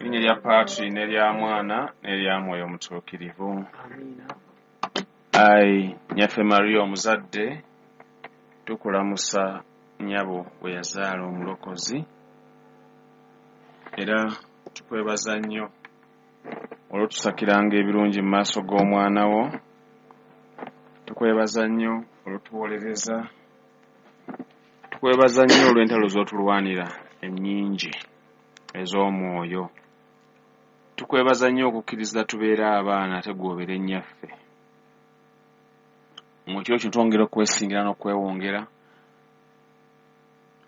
Linnya lya Patri n'erya Mwana n'erya Mwoyo Mutuukirivu. Amiina. Ayi Nnyaffe Maria omuzadde, tukulamusa nnyabo bwe yazaala Omulokozi, era tukwebaza nnyo olw'otusakiranga ebirungi mu maaso g'omwana wo. Tukwebaza nnyo olw'otuwolereza, tukwebaza nnyo olw'entalo z'otulwanira ennyingi ez'omwoyo. Tukwebaza nnyo okukkiriza tubeere abaana ate ggwe obeere nnyaffe. Mu kiro kino twongera okwesingira n'okwewongera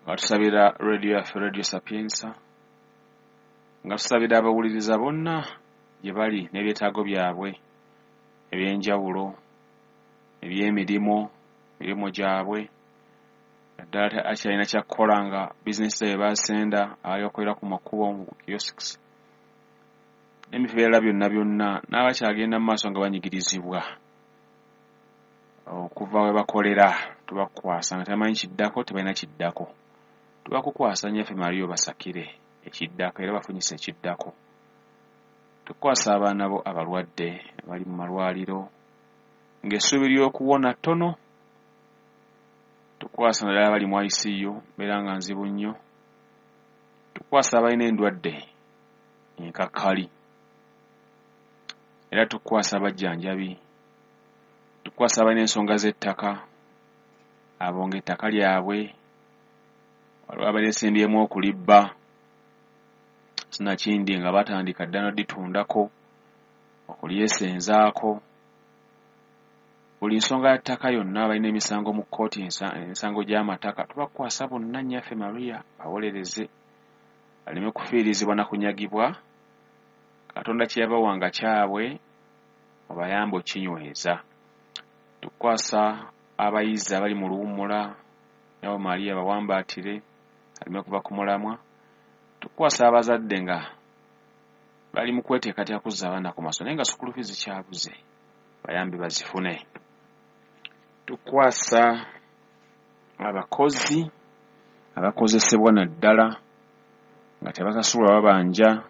nga tusabira rediyo yaffe, Radio Sapienza, nga tusabira abawuliriza bonna gye bali n'ebyetaago byabwe eby'enjawulo, eby'emirimu, emirimu gyabwe, naddala akyalina kyakkola nga bizinesi zaabwe baasenda, abali bakolera ku makubo mu kiosks n'ebifo ebirala byonna byonna, n'abakyagenda mu maaso nga banyigirizibwa okuva we bakolera. Tubakukwasa nga tebamanyi kiddako, tebalina kiddako. Tubakukwasa Nnyaffe Maria obasakire ekiddako era bafunyise ekiddako. Tukukwasa abaana bo abalwadde abali mu malwaliro ng'essuubi ly'okuwona ttono. Tukukwasa naddala abali mu ICU, mbeera nga nzibu nnyo. Tukukwasa abalina endwadde enkakkali, era tukukwasa abajjanjabi. Tukukwasa abalina ensonga z'ettaka, abo ng'ettaka lyabwe waliwo abalyesimbyemu okulibba, sinakindi nga batandika dda n'odditundako, okulyesenzaako. Buli nsonga ya ttaka yonna, abalina emisango mu kkooti, emisango gy'amataka, tubakwasa bonna Nnyaffe Maria bawolereze baleme kufiirizibwa na kunyagibwa. Katonda kye yabawanga kyabwe obayambe okinyweza. Tukwasa abayizi abali mu luwummula, nabo Maria bawambaatire aleme kuva ku mulamwa. Tukwasa abazadde nga bali mu kweteekateeka kuzza abaana ku masomero naye nga school fees zikyabuze, bayambe bazifune. Tukwasa abakozi abakozesebwa naddala nga tebasasulwa babanja,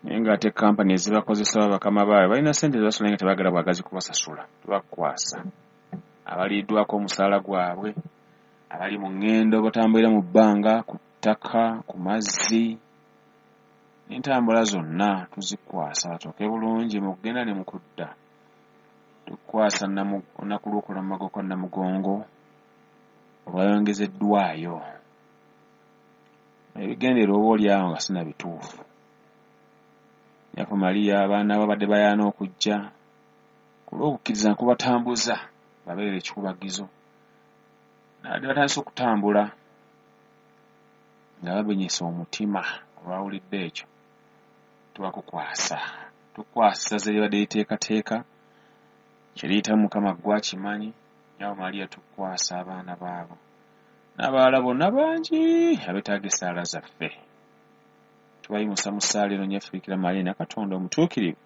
naye ng'ate kampani ezibakozesa bakama baabwe balina ssente zebasasula naye nga tebaagala bwagazi kubasasula. Tubakwasa abaliiddwako omusaala gwabwe, abali mu ŋŋendo batambulira mu bbanga, ku ttaka, ku mazzi, n'entambula zonna tuzikwasa batuuke bulungi mu kugenda ne mu kudda. Tukwasa olunaku lw'okulamaga okwa Namugongo olwayongezeddwayo, ebigendererwa oba oli awo nga sinabituufu. Nnyaffe Maria abaana babadde bayaana okujja ku lw'okukkiriza nkubatambuza babeere ekikubagizo, nabadde batandise okutambula nga babenyesa omutima olwawulidde ekyo. Tubakukwasa, tukwasa ze libadde liteekateeka kye liyitamu Mukama ggwe akimanyi. Nnyabo Maria tukwasa abaana baabo n'abalala bonna bangi abeetaaga essaala zaffe. Tubayimusa mu ssaala eno Nnyaffe Bikira Maria ne Katonda omutuukirivu,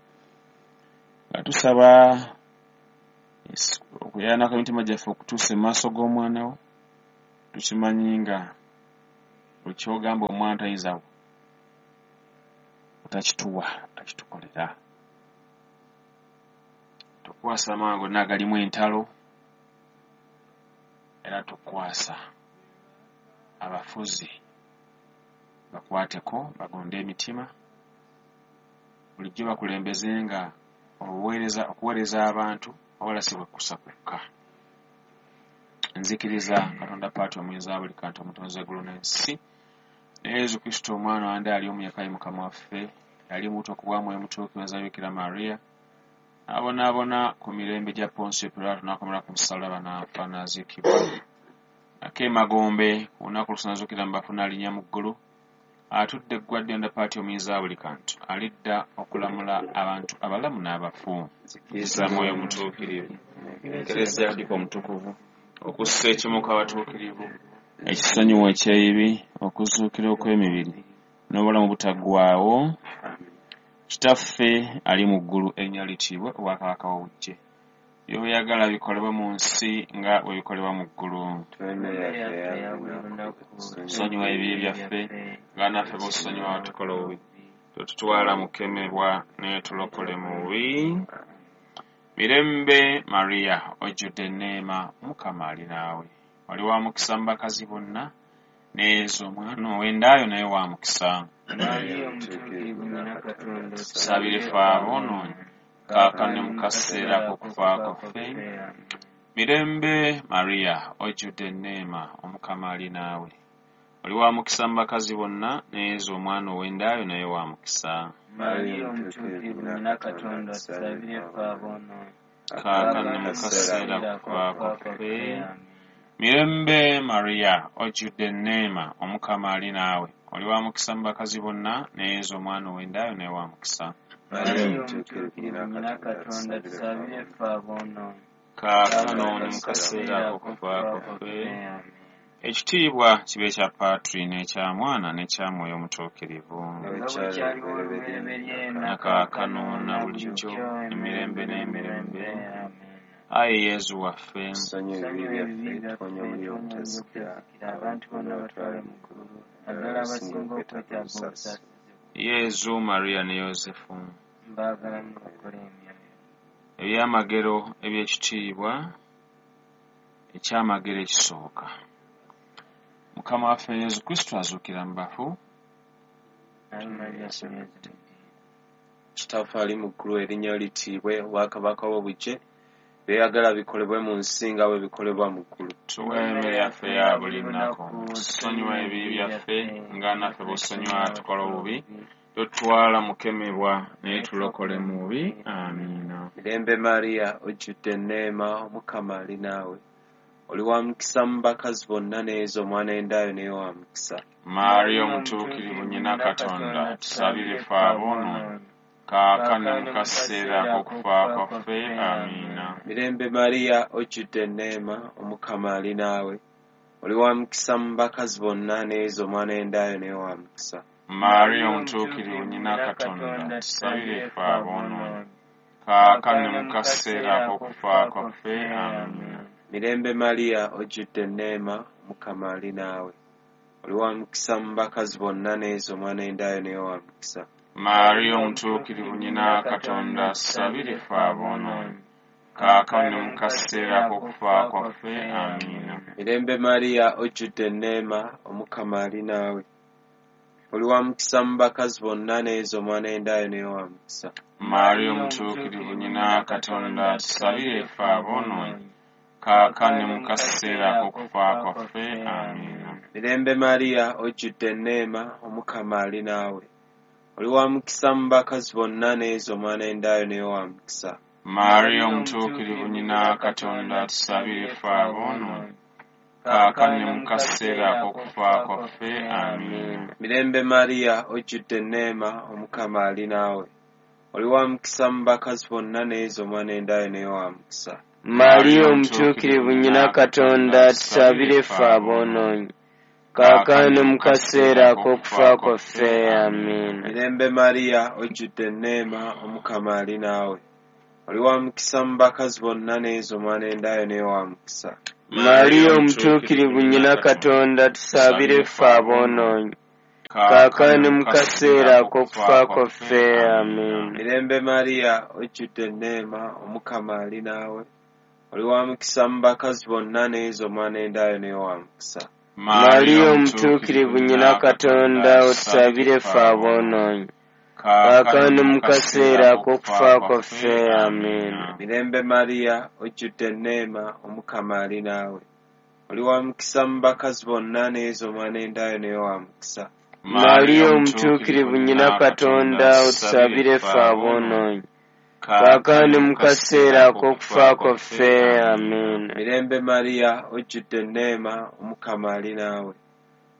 nga tusaba okuyaanako emitima gyaffe okutuusa mu maaso g'omwana wo. Tukimanyi nga buli ky'ogamba omwana tayinza butakituwa, akitukolera. Tukwasa amawanga gonna agalimu entalo, era tukwasa abafuzi bakwateko bagonde emitima, bulijjo bakulembeze nga okuweereza abantu wabula si bwekkusa kwokka. Nzikiriza Katonda Paati omuyinza wa buli kantu, omutonzi w'eggulu n'ensi, ne Yesu Kristo omwana wande ali omu yekka ye Mukama waffe, yali muto ku bwa Mwoyo Mutuukirivu azaalibwa Bikira Maria, n'abonaabona ku mirembe gya Ponsiyo Piraato, n'akomerera ku musaalaba, n'afa, n'aziikibwa, n'akka emagombe, ku lunaku olusooka n'azuukira mu bafu, n'alinnya mu ggulu, atudde eggwadde Katonda Paati omuyinza wa buli kantu, alidda okulamula abantu abalamu n'abafu. Nzikiriza Mwoyo Mutuukirivu, Ekereziya Katolika omutukuvu, okussa ekimu kw'abatuukirivu, ekisonyiwo eky'ebibi, okuzuukira okw'emibiri, n'obulamu obutaggwaawo. Kitaffe ali mu ggulu, erinnya litiibwe, obwakabaka bwo bujje. By'oyagala bikolebwe mu nsi nga bwe bikolebwa mu ggulu. Tuwe emmere yaffe eya buli lunaku. Tusonyiwe ebibi byaffe nga naffe bw'otusonyiwa abatukola obubi. Totutwala mu kukemebwa, naye tulokole mu bubi. Mirembe Maria, ojjudde enneema, Mukama ali naawe. Oli wa mukisa mu bakazi bonna, ne Yezu omwana ow'endaayo naye wa mukisa. Maria omutuukirivu nnyina Katonda, Tusabire ffe aboonoonyi, kaakano ne mu kaseera ak'okufa kwaffe. Mirembe Maria, ojjudde enneema, Omukama ali naawe. Oli wa mukisa mu bakazi bonna, ne Yezu omwana ow'endaayo naye wa mukisa. Maria omutuukirivu nnyina Katonda, tusabire ffe aboonoonyi, Kaakano ne mu kaseera ak'okufa kwaffe. Mirembe Maria, ojjudde enneema, Omukama ali naawe. Oli wa mukisa mu bakazi bonna, ne Yezu omwana ow'endaayo naye wa mukisa. Maria omutuukirivu nnyina Katonda, tusabire ffe aboonoonyi, Kaakano ne mu kaseera ak'okufa kwaffe. Ekitiibwa kibe ekya Patri n'ekya Mwana n'ekya Mwoyo Omutuukirivu. Nga bwe kyaliwo olubereberye, Na kaakano na bulijjo, emirembe n'emirembe. Amiina. Ayi Yezu waffe, Tusonyiwe ebibi byaffe, tuwonye omuliro ogutazikira, abantu bonna batwale mu ggulu, naddala abasinga okwetaaga obusaasizi. Yezu, Maria ne Yozefu. Mbaagala mulokole emyoyo. Ebyamagero eby'ekitiibwa, ekyamagero ekisooka. Mukama waffe Yezu Kristo azuukira mu bafu. Ave Maria, Yezu. Kitaffe ali mu ggulu, erinnya lyo litiibwe, obwakabaka bwo bujje, by'oyagala bikolebwe mu nsi nga bwe bikolebwa mu ggulu. Tuwe emmere yaffe eya buli lunaku. Tusonyiwe ebibi byaffe nga naffe bw'osonyiwa atukola obubi. Totutwala mu kukemebwa, naye tulokole mu bubi. Amiina. Mirembe Maria, ojjudde enneema, Omukama ali naawe. Oli wa mukisa mu bakazi bonna, ne Yezu omwana w'endaayo naye wa mukisa. Maria omutuukirivu nnyina Katonda, tusabire ffe aboonoonyi, kaakano ne mu kaseera ak'okufa kwaffe. Amiina. Mirembe Maria, ojjudde enneema, Omukama ali naawe. Oli wa mukisa mu bakazi bonna, ne Yezu omwana w'endaayo naye wa mukisa. Maria omutuukirivu nnyina Katonda, tusabire ffe aboonoonyi, kaakano ne mu kaseera ak'okufa kwaffe. Amiina. Mirembe Maria, ojjudde enneema, Omukama ali naawe. Oli wa mukisa mu bakazi bonna, ne Yezu omwana w'endaayo naye wa mukisa. Maria omutuukirivu nnyina Katonda, tusabire ffe aboonoonyi, kaakano ne mu kaseera ak'okufa kwaffe. Amiina. Mirembe Maria, ojjudde enneema, Omukama ali naawe. Oli wa mukisa mu bakazi bonna, ne Yezu omwana w'endaayo naye wa mukisa. Maria omutuukirivu nnyina Katonda, tusabire ffe aboonoonyi, kaakano ne mu kaseera ak'okufa kwaffe. Amiina. Mirembe Maria, ojjudde enneema, Omukama ali naawe. Oli wa mukisa mu bakazi bonna, ne Yezu omwana w'endaayo naye wa mukisa. Maria omutuukirivu nnyina Katonda, tusabire ffe aboonoonyi, kaakano ne mu kaseera ak'okufa kwaffe. Amiina. Mirembe Maria, ojjudde enneema, Omukama ali naawe. Oli wa mukisa mu bakazi bonna, ne Yezu omwana w'endaayo naye wa mukisa. Maria omutuukirivu nnyina Katonda, tusabire ffe aboonoonyi, kaakano ne mu kaseera ak'okufa kwaffe. Amiina. Mirembe Maria, ojjudde enneema, Omukama ali naawe. Oli wa mukisa mu bakazi bonna, ne Yezu omwana w'endaayo naye wa mukisa. Maria omutuukirivu nnyina Katonda, tusabire ffe aboonoonyi, kaakano ne mu kaseera ak'okufa kwaffe. Amiina. Mirembe Maria, ojjudde enneema, Omukama ali naawe. Oli wa mukisa mu bakazi bonna, ne Yezu omwana w'endaayo naye wa mukisa. Maria omutuukirivu nnyina Katonda, otusabire ffe aboonoonyi, kaakano ne mu kaseera ak'okufa kwaffe. Amiina. Mirembe Maria, ojjudde enneema, Omukama ali naawe. Oli wa mukisa mu bakazi bonna, ne Yezu omwana w'endaayo naye wa mukisa. Maria omutuukirivu nnyina Katonda, otusabire ffe aboonoonyi, kaakano ne mu kaseera ak'okufa kwaffe. Amiina. Mirembe Maria, ojjudde enneema, Omukama ali naawe.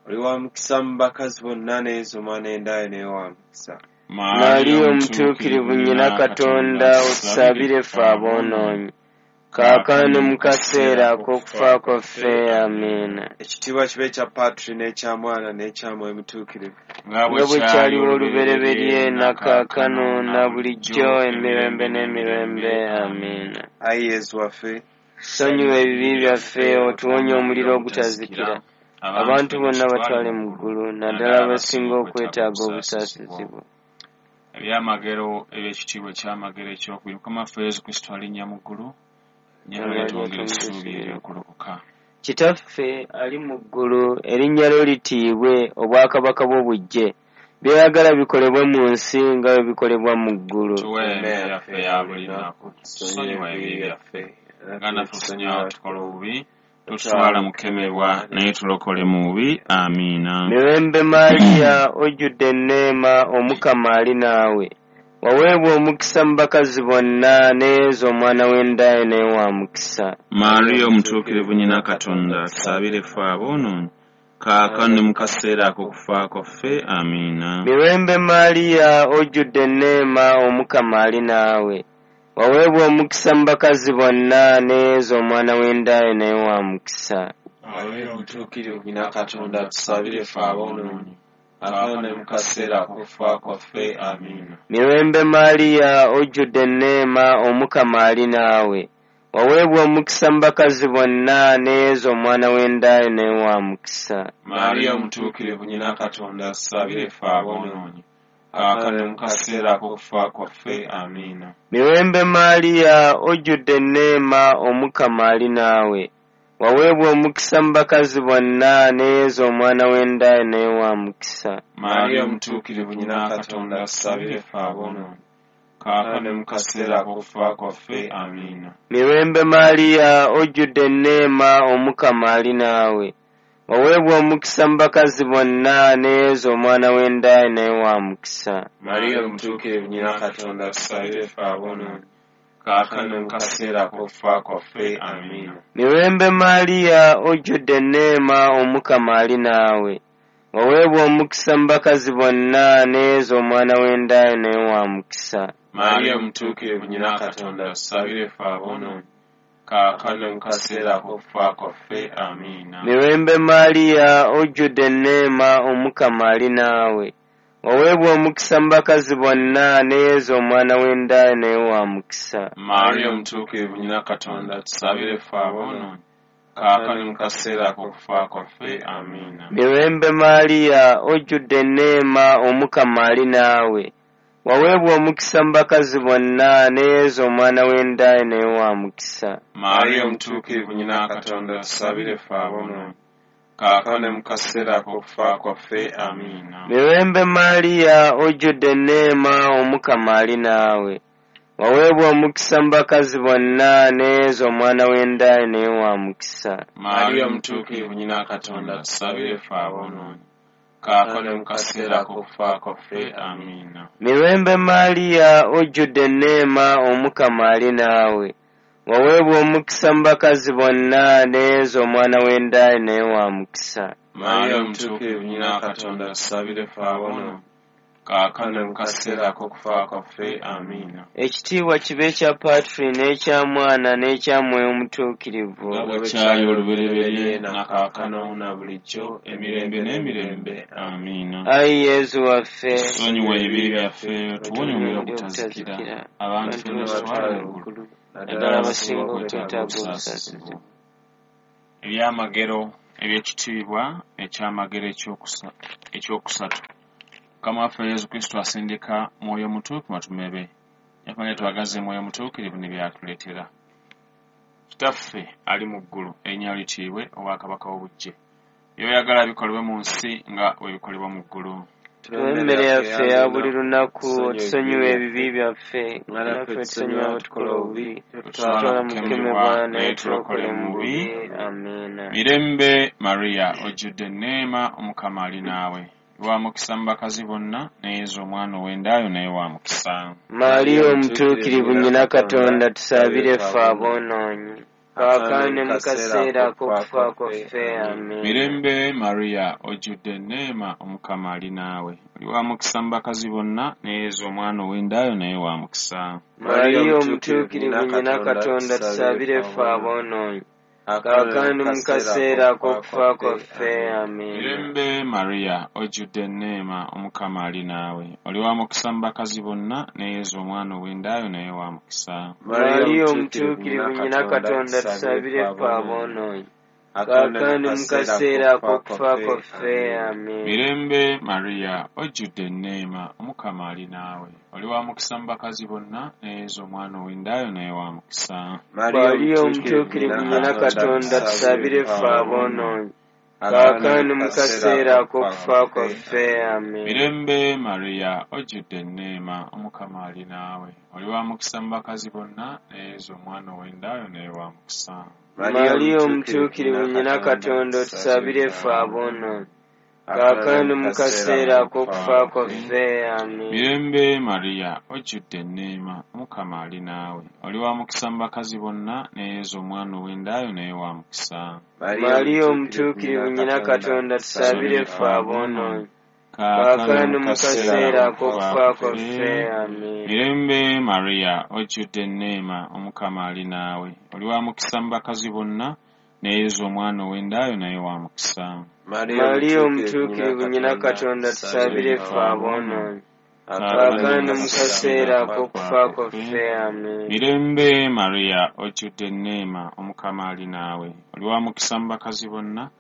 Oli wa mukisa mu bakazi bonna, ne Yezu omwana w'endaayo naye wa mukisa. Maria omutuukirivu nnyina Katonda, otusabire ffe aboonoonyi, Kaakano mu kaseera ak'okufa kwaffe. Amiina. Ekitiibwa kibe ekya Patri n'ekya Mwana n'ekya Mwoyo Mutuukirivu. Nga Nga bwe kyaliwo olubereberye, na kaakano, na bulijjo, emirembe n'emirembe. Amiina. Ayi Yezu waffe, Sonyiwa ebibi byaffe, otuwonye omuliro ogutazikira. Abantu bonna batwale mu ggulu, naddala abasinga okwetaaga obusaasizi bwo. Ebyamagero eby'ekitiibwa ekyamagero ekyokubiri, Mukama waffe Yesu Kristo alinnya mu ggulu, nyamala twongera essuubi ery'okulokoka. Kitaffe ali mu ggulu, erinnya lyo litiibwe, obwakabaka bwo bujje. By'oyagala bikolebwe mu nsi nga bwe bikolebwa mu ggulu. Tuwe emmere yaffe eya buli lunaku, tusonyiwe ebibi byaffe nga naffe tusonyiwa tukola obubi, totutwala mu kukemebwa, naye tulokole mu bubi. Amiina. Mirembe Maria, ojjudde enneema, Omukama ali naawe. Waweebwa omukisa mu bakazi bonna, ne Yezu omwana w'enda yo naye wa mukisa. Maria omutuukirivu nnyina Katonda, tusaabire ffe aboonoonyi, kaakano ne mu kaseera ak'okufa kwaffe. Amiina. Mirembe Maria, ojjudde enneema, Omukama ali naawe. Waweebwa omukisa mu bakazi bonna, ne Yezu omwana w'enda yo naye wa mukisa. Maria omutuukirivu nnyina Katonda, tusaabire ffe aboonoonyi, kaakano ne mu kaseera ak'okufa kwaffe. Amiina. Mirembe Maria, ojjudde enneema, Omukama ali naawe. Waweebwa omukisa mu bakazi bonna, ne Yezu omwana w'enda yo naye wa mukisa. Maria omutuukirivu nnyina Katonda, tusaabire ffe aboonoonyi, kaakano ne mu kaseera ak'okufa kwaffe. Amiina. Mirembe Maria, ojjudde enneema, Omukama ali naawe. Waweebwa omukisa mu bakazi bonna, ne Yezu omwana w'enda yo naye wa mukisa. Maria omutuukirivu nnyina Katonda, tusaabire ffe aboonoonyi, kaakano ne mu kaseera ak'okufa kwaffe. Amiina. Mirembe Maria, ojjudde enneema, Omukama ali naawe. Waweebwa omukisa mu bakazi bonna, ne Yezu omwana w'enda yo naye wa mukisa. Maria omutuukirivu nnyina Katonda, tusaabire ffe aboonoonyi, kaakano ne mu kaseera ak'okufa kwaffe. Amiina. Mirembe Maria, ojjudde enneema, Omukama ali naawe. Waweebwa omukisa mu bakazi bonna, ne Yezu omwana w'enda yo naye wa mukisa. Maria omutuukirivu nnyina Katonda, tusaabire ffe aboonoonyi, kaakano ne mu kaseera ak'okufa kwaffe. Amiina. Mirembe Maria, ojjudde enneema, Omukama ali naawe. Waweebwa omukisa mu bakazi bonna, ne Yezu omwana w'enda yo naye wa mukisa. Maria omutuukirivu nnyina Katonda, tusaabire ffe aboonoonyi, kaakano ne mu kaseera ak'okufa kwaffe. Amiina. Mirembe Maria, ojjudde enneema, Omukama ali naawe. Waweebwa omukisa mu bakazi bonna, ne Yezu omwana w'enda yo naye wa mukisa. Maria omutuukirivu nnyina Katonda, tusaabire ffe aboonoonyi, kaakano ne mu kaseera ak'okufa kwaffe. Amiina. Mirembe Maria, ojjudde enneema, Omukama ali naawe. Waweebwa omukisa mu bakazi bonna, ne Yezu omwana w'enda yo naye wa mukisa. Maria omutuukirivu nnyina Katonda, tusaabire ffe aboonoonyi, kaakano ne mu kaseera ak'okufa kwaffe. Amiina. Mirembe Maria, ojjudde enneema, Omukama ali naawe. Waweebwa omukisa mu bakazi bonna, ne Yezu omwana w'enda yo naye wa mukisa. Maria omutuukirivu nnyina Katonda, tusaabire ffe aboonoonyi, kaakano ne mu kaseera ak'okufa kwaffe. Amiina. Ekitiibwa kibe ekya Patri n'ekya Mwana n'ekya Mwoyo Mutuukirivu. Nga bwe kyali olubereberye, na kaakano na bulijjo, emirembe n'emirembe. Amiina. Ayi Yezu waffe, Tusonyiwe ebibi byaffe, tuwonye omuliro ogutazikira, abantu ffenna tutwale mu ggulu, naddala abasinga okwetaaga obusaasizi bwo. Ebyamagero eby'ekitiibwa ekyamagero ekyokusatu. Mukama waffe Yesu Kristo asindika Mwoyo Mutuukirivu batume be. Yakumanya twagaze Mwoyo Mutuukirivu ne byatuleetera. Kitaffe ali mu ggulu, erinnya lyo litiibwe, obwakabaka bwo bujje. By'oyagala bikolebwe mu nsi nga bwe bikolebwa mu ggulu. Tuwe emmere yaffe eya buli lunaku, otusonyiwe ebibi byaffe, nga naffe tusonyiwa abatukola obubi, totutwala mu kukemebwa, naye tulokole mu bubi. Amiina. Mirembe Maria, ojjudde enneema, Omukama ali naawe. Wa mukisa mu bakazi bonna, ne Yezu omwana ow'enda yo naye wa mukisa. Maria omutuukirivu nnyina Katonda, tusaabire ffe aboonoonyi, Kaakano ne mu kaseera ak'okufa kwaffe. Amiina. Mirembe Mariya, ojjudde enneema, Omukama ali naawe. Oli wa mukisa mu bakazi bonna, ne Yezu omwana ow'endaayo naye wa mukisa. Mariya omutuukirivu nnyina Katonda, tusabire ffe aboonoonyi, kaakano mu kaseera ak'okufa kwaffe. Amiina. Mirembe Mariya, ojjudde enneema, Omukama ali naawe. Oli wa mukisa mu bakazi bonna, ne Yezu omwana ow'endaayo naye wa mukisa. Mariya omutuukirivu nnyina Katonda, tusabire ffe aboonoonyi, kaakano mu kaseera ak'okufa kwaffe. Amiina. Mirembe Mariya, ojjudde enneema, Omukama ali naawe. Oli wa mukisa mu bakazi bonna, ne Yezu omwana ow'endaayo naye wa mukisa. Mariya omutuukirivu nnyina Katonda, tusabire ffe aboonoonyi, kaakano mu kaseera ak'okufa kwaffe. Amiina. Mirembe Mariya, ojjudde enneema, Omukama ali naawe. Oli wa mukisa mu bakazi bonna, ne Yezu omwana ow'endaayo naye wa mukisa. Mariya omutuukirivu nnyina Katonda, otusabire ffe aboonoonyi, kaakano mu kaseera ak'okufa kwaffe. Amiina. Mirembe Mariya, ojjudde enneema, Omukama ali naawe. Oli wa mukisa mu bakazi bonna, ne Yezu omwana ow'endaayo naye wa mukisa. Mariya omutuukirivu nnyina Katonda, tusabire ffe aboonoonyi, kaakano mu kaseera ak'okufa kwaffe. Amiina. Mirembe Mariya, ojjudde enneema, Omukama ali naawe. Oli wa mukisa mu bakazi bonna, ne Yezu omwana ow'endaayo naye wa mukisa. Mariya omutuukirivu nnyina Katonda, tusabire ffe aboonoonyi, kaakano mu kaseera ak'okufa kwaffe. Amiina. Mirembe Mariya, ojjudde enneema, Omukama ali naawe. Oli wa mukisa mu bakazi bonna,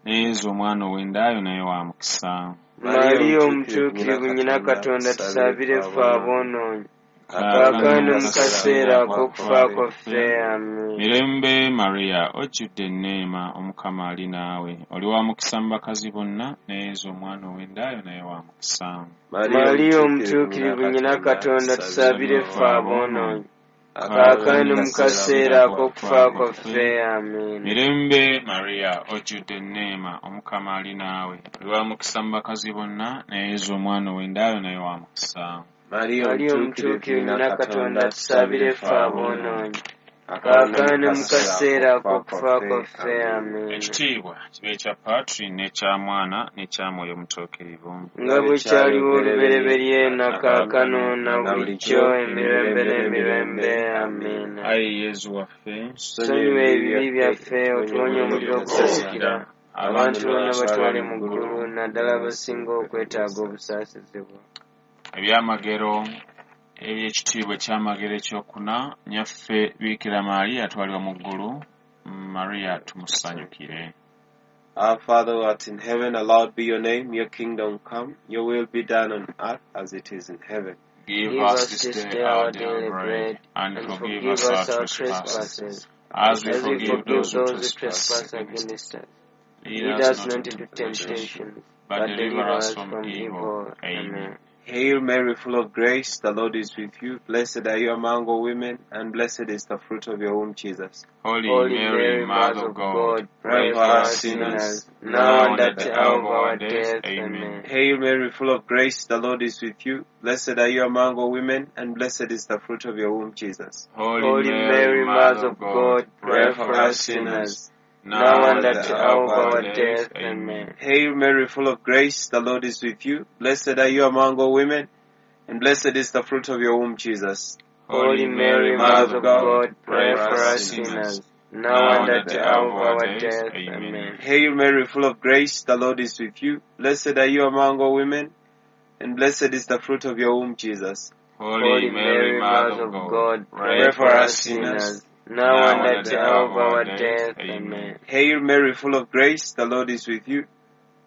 ne Yezu omwana ow'endaayo naye wa mukisa. Mariya omutuukirivu nnyina Katonda, tusabire ffe aboonoonyi, kaakano mu kaseera ak'okufa kwaffe. Amiina. Mirembe Mariya, ojjudde enneema, Omukama ali naawe. Oli wa mukisa mu bakazi bonna, ne Yezu omwana ow'endaayo naye wa mukisa. Mariya omutuukirivu nnyina Katonda, tusabire ffe aboonoonyi, kaakano mu kaseera ak'okufa kwaffe. Amiina. Mirembe Mariya, ojjudde enneema, Omukama ali naawe. Oli wa mukisa mu bakazi bonna, ne Yezu omwana ow'endaayo naye wa mukisa. Mariya omutuukirivu nnyina Katonda, tusabire ffe aboonoonyi, kaakano mu kaseera ak'okufa kwaffe. Amiina. Ekitiibwa kibe ekya Patri n'ekya Mwana n'ekya Mwoyo Mutuukirivu. Nga bwe kyaliwo olubereberye na kaakano na bulijjo emirembe n'emirembe. Amiina. Ayi Yezu waffe, Tusonyiwe ebibi byaffe, otuwonye omuliro ogutazikira, abantu bonna batwale mu ggulu, naddala abasinga okwetaaga obusaasizi bwo. Ebyamagero eby'ekitiibwa ekyamagero ekyokuna, nnyaffe Biikira Maria atwalibwa mu ggulu, Maria tumusanyukire. Our Father who art in heaven, hallowed be your name. Your kingdom come, your will be done on earth as it is in heaven. Give us this day our daily bread, and forgive us our trespasses, as we forgive those who trespass against us. Lead us not into temptation, but deliver us from evil. Amen. Hail Mary, full of grace, the Lord is with you. Blessed are you among all women, and blessed is the fruit of your womb, Jesus. Holy Mary, Mother of God, pray for us sinners, now and at the hour of our death. Amen. Hail Mary, full of grace, the Lord is with you. Blessed are you among all women, and blessed is the fruit of your womb, Jesus. Holy Mary, Mother of God, pray for us sinners, now and at the hour of our death. Amen. Hail Mary, full of grace, the Lord is with you. Blessed are you among all women, and blessed is the fruit of your womb, Jesus. Holy Mary, Mother of God, pray for us sinners, now and at the hour of our death. Amen. Hail Mary, full of grace, the Lord is with you. Blessed are you among all women, and blessed is the fruit of your womb, Jesus. Holy Mary, Mother of God, pray for us sinners, now and at the hour of our death. Amen. Hail Mary, full of grace, the Lord is with you.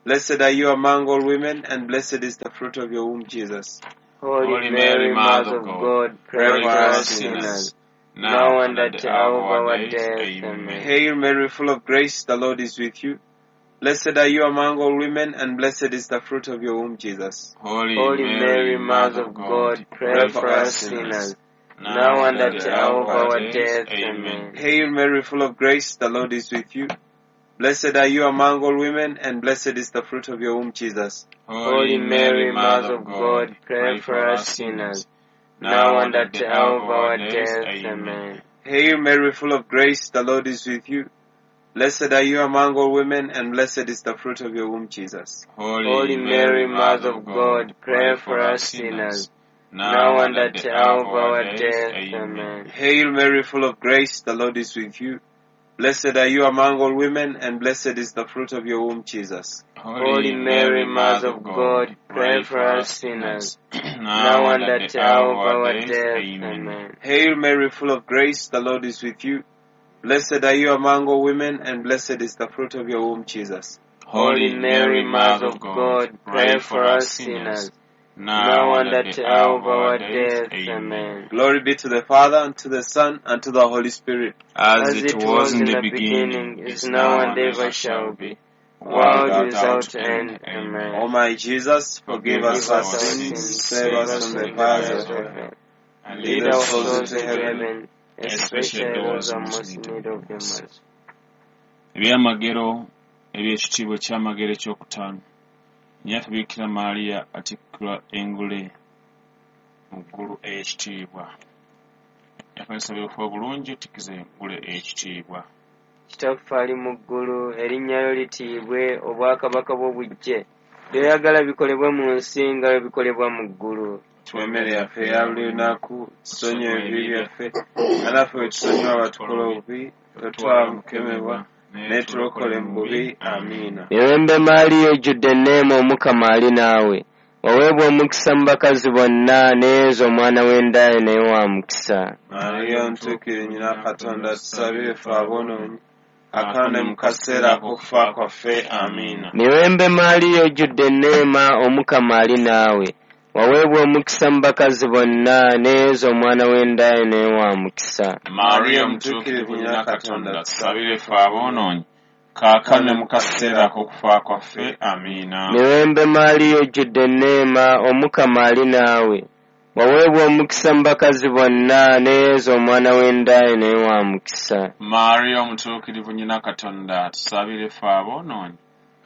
Blessed are you among all women, and blessed is the fruit of your womb, Jesus. Holy Mary, Mother of God, pray for us sinners, now and at the hour of our death. Amen. Hail Mary, full of grace, the Lord is with you. Blessed are you among all women, and blessed is the fruit of your womb, Jesus. Holy Mary, Mother of God, pray for us sinners, now and at the hour of our death. Amen. Hail Mary, full of grace, the Lord is with you. Blessed are you among all women, and blessed is the fruit of your womb, Jesus. Holy Mary, Mother of God, pray for us sinners, now and at the hour of our death. Amen. Hail Mary, full of grace, the Lord is with you. Blessed are you among all women, and blessed is the fruit of your womb, Jesus. Holy Mary, Mother of God, pray for us sinners, now and at the hour of our death. Amen. Hail Mary, full of grace, the Lord is with you. Blessed are you among all women, and blessed is the fruit of your womb, Jesus. Holy Mary, Mother of God, pray for us sinners, now and at the hour of our death. Amen. Hail Mary, full of grace, the Lord is with you. Blessed are you among all women, and blessed is the fruit of your womb, Jesus. Holy Mary, Mother of God, pray for us sinners, now and at the hour of our death. Amen. Glory be to the Father, and to the Son, and to the Holy Spirit. As it was in the beginning, is now, and ever shall be, world without end. Amen. O my Jesus, forgive us our sins, save us from the fires of hell, and Lead our souls to heaven, especially those who are most in need of your mercy. Ebyamagero eby'ekitiibwa ekyamagero ekyokutaano, Nnyaffe Bikira Maria atikkirwa engule mu ggulu ey'ekitiibwa. Nnyaffe nsaba obufu obulungi otikkize engule ey'ekitiibwa. Kitaffe ali mu ggulu, erinnya lyo litiibwe, obwakabaka bwo bujje, by'oyagala bikolebwe mu nsi nga bwe bikolebwa mu ggulu. Tuwe emmere yaffe eya buli lunaku, tusonyiwe ebibi byaffe, nga naffe bwe tusonyiwa abatukola obubi, totutwala mu kukemebwa, naye tulokole mu bubi. Amiina. Mirembe Maria, ojjudde enneema, Omukama ali naawe, waweebwa omukisa mu bakazi bonna, ne Yezu omwana w'enda ye naye wa mukisa. Mariya omutuukirivu nnyina Katonda, tusabire ffe aboonoonyi, kaakano ne mu kaseera ak'okufa kwaffe. Amiina. Mirembe Maria, ojjudde enneema, Omukama ali naawe, waweebwa omukisa mu bakazi bonna, ne Yezu omwana w'enda ye naye wa mukisa. Maria omutuukirivu nnyina Katonda, tusabire ffe aboonoonyi, kaakano ne mu kaseera ak'okufa kwaffe. Amiina. Mirembe Maria, ojjudde enneema, Omukama ali naawe, waweebwa omukisa mu bakazi bonna, ne Yezu omwana w'enda ye naye wa mukisa. Maria omutuukirivu nnyina Katonda, tusabire ffe aboonoonyi,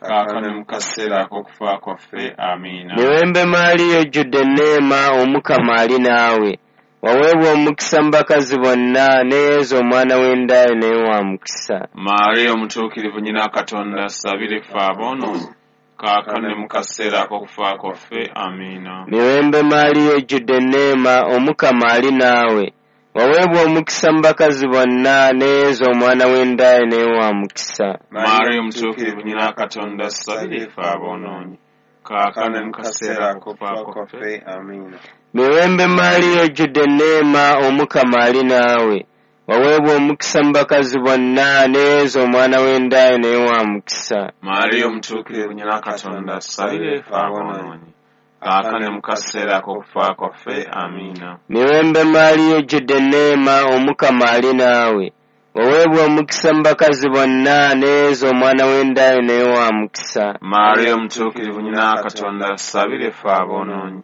kaakano ne mu kaseera ak'okufa kwaffe. Amiina. Mirembe Maria, ojjudde enneema, Omukama ali naawe, waweebwa omukisa mu bakazi bonna, ne Yezu omwana w'enda ye naye wa mukisa. Maria omutuukirivu nnyina Katonda, tusabire ffe aboonoonyi, kaakano ne mu kaseera ak'okufa kwaffe. Amiina. Mirembe Maria, ojjudde enneema, Omukama ali naawe, waweebwa omukisa mu bakazi bonna, ne Yezu omwana w'enda ye naye wa mukisa. Maria omutuukirivu nnyina Katonda, tusabire ffe aboonoonyi, kaakano ne mu kaseera ak'okufa kwaffe. Amiina. Mirembe Maria, ojjudde enneema, Omukama ali naawe, waweebwa omukisa mu bakazi bonna, ne Yezu omwana w'enda ye naye wa mukisa. Maria omutuukirivu nnyina Katonda, tusabire ffe aboonoonyi, kaakano ne mu kaseera ak'okufa kwaffe. Amiina. Mirembe Maria, ojjudde enneema, Omukama ali naawe, waweebwa omukisa mu bakazi bonna, ne Yezu omwana w'enda ye naye wa mukisa. Maria omutuukirivu nnyina Katonda, tusabire ffe aboonoonyi,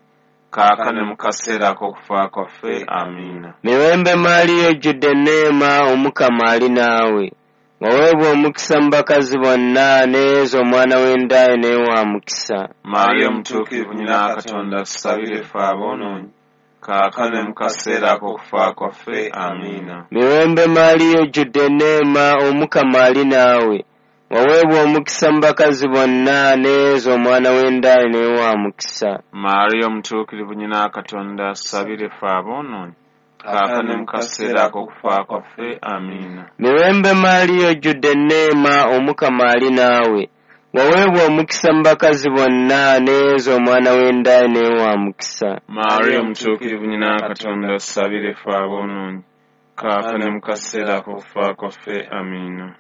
kaakano ne mu kaseera ak'okufa kwaffe. Amiina. Mirembe Maria, ojjudde enneema, Omukama ali naawe, waweebwa omukisa mu bakazi bonna, ne Yezu omwana w'enda ye naye wa mukisa. Maria omutuukirivu nnyina Katonda, tusabire ffe aboonoonyi, kaakano ne mu kaseera ak'okufa kwaffe. Amiina. Mirembe Maria, ojjudde enneema, Omukama ali naawe, waweebwa omukisa mu bakazi bonna, ne Yezu omwana w'enda ye naye wa mukisa. Maria omutuukirivu nnyina Katonda, tusabire ffe aboonoonyi, kaakano ne mu kaseera ak'okufa kwaffe. Amiina. Mirembe Maria, ojjudde enneema, Omukama ali naawe, waweebwa omukisa mu bakazi bonna, ne Yezu omwana w'enda ye naye wa mukisa. Maria omutuukirivu nnyina Katonda, tusabire ffe aboonoonyi, kaakano ne mu kaseera ak'okufa kwaffe. Amiina.